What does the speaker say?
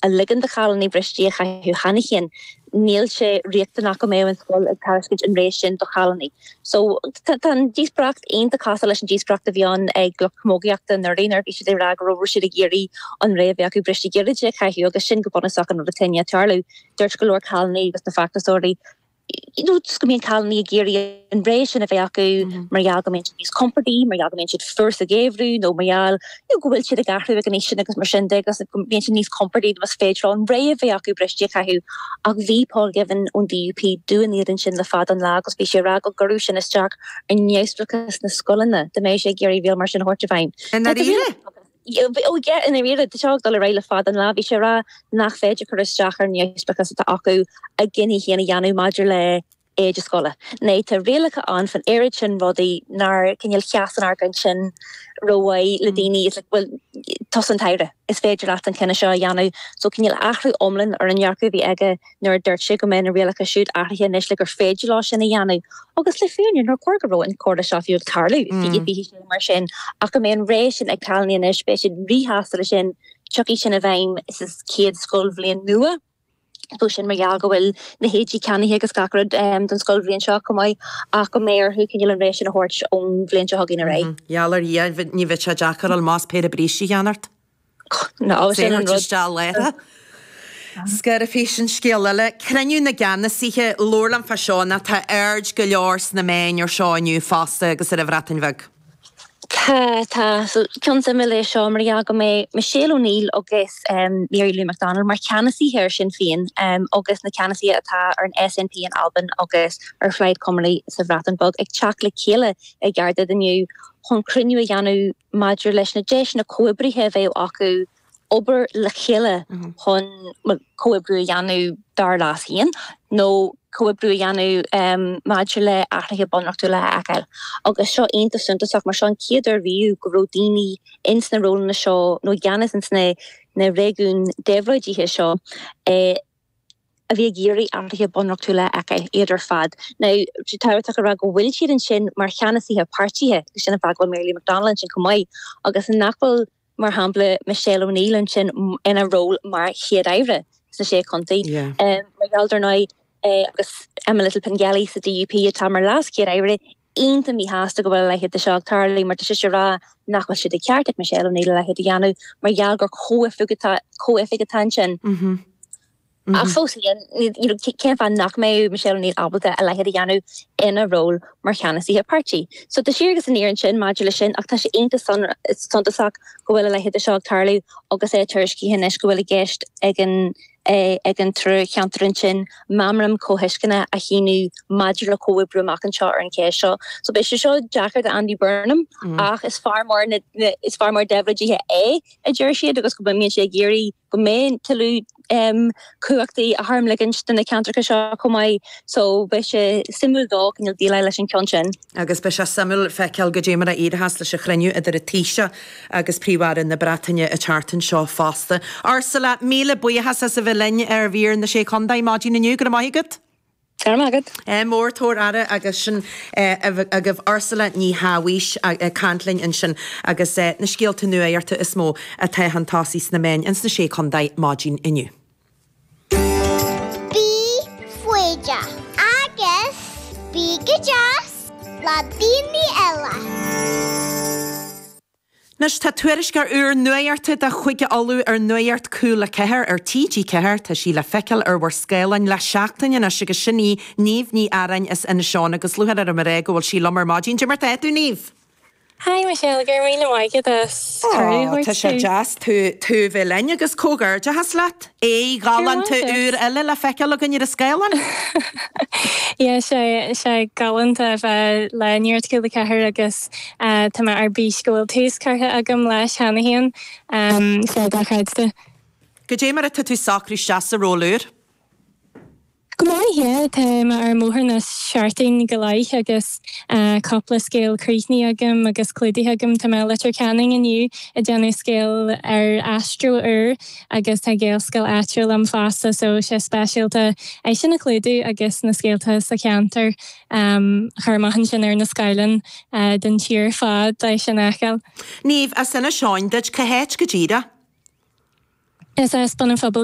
A ligean do chailíní bristí a chaitheamh cheana féin, níl sé riachtanach go mbeadh an scoil ag tairiscint an rogha sin do chailíní. So, tá an díospóireacht iontach cosúil leis an díospóireacht a bhí ann ag lucht camógaíochta anuraidh nuair a bhí siad ag rá go raibh siad ag iarraidh an rogha a bheith acu bristí gairide a chaitheamh agus sin go bunúsach an rud atá i ndiaidh tarlú. Dúirt go leor cailíní agus na feachtasóirí you know just go mbíonn cailíní ag iarraidh an rogha sin a bheith acu mar gheall go mbíonn siad níos compordaí, mar gheall go mbíonn siad fuar sa gheimhreadh nó mar gheall you know go bhfuil siad ag athrú ag an aois sin agus mar sin de agus go mbíonn siad níos compordaí más féidir leo an rogha a bheith acu bristí a chaitheamh. Ach bhí Paul Givan ón DUP dubh ina éadan sin le fada an lá agus bhí sé ag rá go gcuirfeadh sin isteach ar neamhspleáchas na scoileanna dá mbeadh sé ag iarraidh riail mar sin a thabhairt i bhfeidhm. I ndáiríre? Ó yeah, i ndáiríre, tá seo ag dul ar aghaidh le fada an lá. Bhí sé ag rá nach féidir cur isteach ar an neamhspleáchas atá acu a gcinntí féin a dhéanamh maidir le éide scoile. Now tá rialacha ann fan oiread sin rudaí nár cineál sheas an argóint sin rómhaith le daoine. It's like, well, tusa an t-aire, is féidir leat an cinneadh seo a dhéanamh. So cineál athrú iomlán ar an ndearcadh a bhí aige nuair a dúirt sé go mbeidh na rialacha siúd athraithe anois le gur féidir leo sin a dhéanamh. Agus le fírinne, nár chóir go raibh an comhrá seo fiú ag tarlú i 2026 mar sin, ach go mbeidh an rogha sin ag cailíní anois, beidh siad ríshásta leis sin, tiocfaidh sin i bhfeidhm sa chéad scoilbhliain nua. So sin mar gheall go bhfuil na héidí ceannaithe agus gach rud don scoilbhliain seo chomh maith, ach go mbeidh orthu cineál an rogha sin a thabhairt ón bhliain seo chugainn ar aghaidh. Gheall ar Dhia, ní bheidh sé deacair a fháil amach péire brístí a cheannacht. No, sin an rud. Isteach láithreach. Scor a bhí sin scéal eile. Cruinniú na gceannasaithe, labhair liom fá seo nó tá aird go leor sna meáin ar seo inniu fosta agus ar an Bhreatain Bheag. Tá, tá. So, ceann suimiúil é seo mar gheall go mbeidh Michelle O'Neill agus Mary Lou McDonald mar cheannasaithe ar Sinn Féin agus na ceannasaithe atá ar an SNP in Albain agus ar Phlaid Cymru sa Bhreatain Bheag ag teacht le chéile i gCaerdydd inniu chun cruinniú a dhéanamh maidir leis na deiseanna comhoibrithe a bheadh acu obair le chéile chun comhoibriú a dhéanamh dár leas féin nó comhoibriú a dhéanamh maidir le athruithe bunreachtúla a fheiceáil. Agus seo iontach suntasach mar seo an chéad uair riamh go raibh daoine ins na rólanna seo nó i gceannas ins na na réigiúin déabhlóidithe seo a bhí ag iarraidh athruithe bunreachtúla a fheiceáil, iad ar fad. Now, tá sé tábhachtach a rá go bhfuil siad ansin mar cheannasaithe páirtithe, agus sin an fáth go bhfuil Mary Lou McDonald ansin chomh maith, agus nach bhfuil, mar shampla, Michelle O'Neill ansin ina ról mar Chéad-Aire sna Sé Chontae. Mar gheall, dar ndóigh, agus Emma Little-Pengelly sa DUP atá mar LeasChéad-Aire, iontach míshásta go bhfuil a leithéid de seo ag tarlú mar tá sise ag rá nach bhfuil sé de cheart ag Michelle O'Neill a leithéid a dhéanamh mar gheall gur comhoifig atá comhoifig atá ansin. Ach fós féin, you know, cén fáth nach mbeadh Michelle O'Neill ábalta a leithéid a dhéanamh ina ról mar cheannasaithe páirtí? So tá siar agus aniar ansin maidir leis sin ach tá sé iontach suntasach go bhfuil a leithéid de seo ag tarlú agus é tuairiscithe anois go bhfuil i gceist ag an ag an triúr cheantar ansin meamram comhthuisceana a shíniú maidir le comhoibriú amach anseo ar an cheist seo. So beidh sé seo deacair do Andy Burnham ach is fear mór na is fear mór déabhlóidithe é a deir siad agus go mbíonn sé ag iarraidh go mbeidh tuilleadh cumhachtaí á tharmligint do na ceantracha seo chomh maith so beidh sé suimiúil dó cineál déileáil leis an ceann sin. Agus beidh sé suimiúil feiceáil goidé mar a éireochas leis an chruinniú idir an Taoiseach agus Príomh-Aire na Breataine an tseachtain seo fosta. Ursula, míle buíochas as a bheith linn ar mhír na Sé Chontae maidin inniu. Go raibh maith agat. Go raibh maith agat. Ádh mór, tabhair aire agus sin agaibh Ursula Ní Shabhaois ag caint linn ansin agus na scéalta nuachta is mó atá chun tosaigh sna meáin ins na Sé Chontae maidin inniu. Bí foighdeach agus bí go deas le daoine eile. Anois tá tuairisceoir úr nuachta de Chúige Uladh ar Nuacht Cúla 4 ar TG4. Tá sí le feiceáil ar bhur scáileáin le seachtain anois agus sin í Niamh Ní Earáin as Inis Eoghain agus lúcháir orm a rá go bhfuil sí liom ar maidin. Cad é mar tá tú, Niamh? Hi Michelle, go raibh míle maith agat as cuireadh a thabhairt Tá sé deas tú tú a bheith linn agus comhghairdeachas leat. Aghaidh ghalánta úr eile le feiceáil againn ar an scáileán. Yeah, sé sé galánta a bheith le Nuacht Cúla 4 agus tá mé ar bís go bhfuil tús curtha agam leis cheana féin. Sé dochreidte. Goidé mar atá tú ag socrú isteach sa ról úr? Go maith, yeah. Tá mé ar an mbóthar le seachtain go leith agus cúpla scéal críochnaithe agam agus clúdaithe agam. Tá mé i Leitir Ceanainn inniu ag déanamh scéal ar Astro úr agus tá Gaelscoil áitiúil liom fosta so sé speisialta é sin a chlúdú agus na scéalta sa cheantar a chur amach ansin ar na scáileáin don tír ar fad é sin a fheiceáil. Niamh, as Inis Eoghain duit, cá háit go díreach? Is as Bun an Phobail.